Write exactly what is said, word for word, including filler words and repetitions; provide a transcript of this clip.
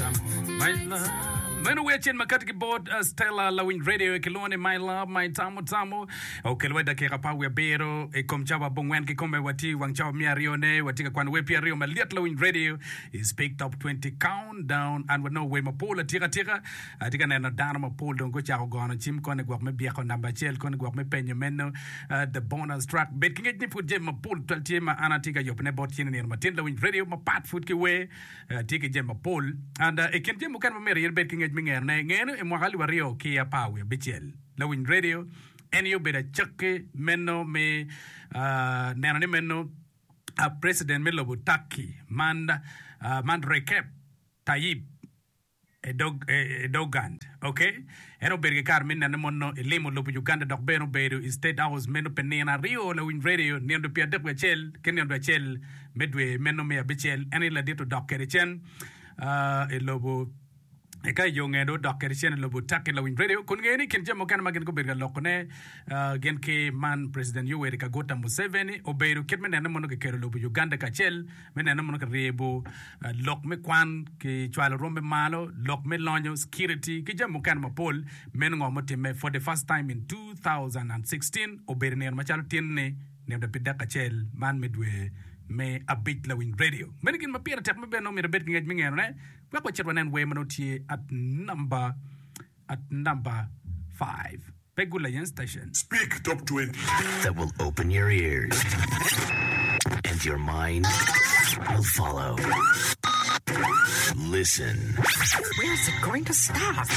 My love. Meno wer acel ma kati ki bot uh, Stella Lawiny Radio kilwongo ni My Love My Tamo Tamo okelwa i dakika apar wiye abiro i kom cawa abongwen kikome watye i wang cawa miya aryone watye ka kwano wer pye aryo malyet Lawiny Radio i Speak Top twenty Countdown and wanongo wer mapol atika atika atye ka neno dano mapol dong gucako gono cim koni gwok me byeko namba acel koni gwok me penyo meno uh, the bonus track bed ki ngec ni pud jami mapol twal tye ma an atye ka yubone bot in i nino matin Lawiny Radio mapat pud ki wer uh, tye ki jami mapol and uh, i kin jami mukene ma myero in ibed ki ngec me ngerone ngene i mwaka alip aryo ki apar wiye abicel Lawiny Radio en aye obedo acakki meno me uh, neno ni meno uh, president me lobo Turkey man uh, man Recep Tayyip Edog, Erdogan okay en obedo ki kare me nene mono ilimo lobo Uganda dok bene obedo i State House meno pi nino aryo Lawiny Radio nino dwe pye adek wiye acel ki nino dwe acel me dwe meno me abicel en aye ladit odok kwede cen uh, i lobo eka i yo nge dong odok kwede cen i lobo Turkey Lawiny Radio kun ngeyo ni i kin jami mukene ma gin gubedo ka lokone uh, gin ki man President Yoweri Kaguta Museveni obedo kit me nene mono kikelo lobo Uganda kacel me nene mono kiryebo uh, lok me kwan ki cwalo rwom me malo lok me lonyo security ki jami mukene mapol meno ngo mutimme for the first time in two thousand sixteen obedo nino macalo tin-ni nino pi dek acel man me dwe me abic Lawiny Radio meno gin ma pire tek me bene omyero ibed ki ngec me ngerone wek wacit wanen wer ma nongo tye at number at number five pe Gulayen Station. Speak Top twenty. That will open your ears and your mind will follow. Listen. Where's it going to stop?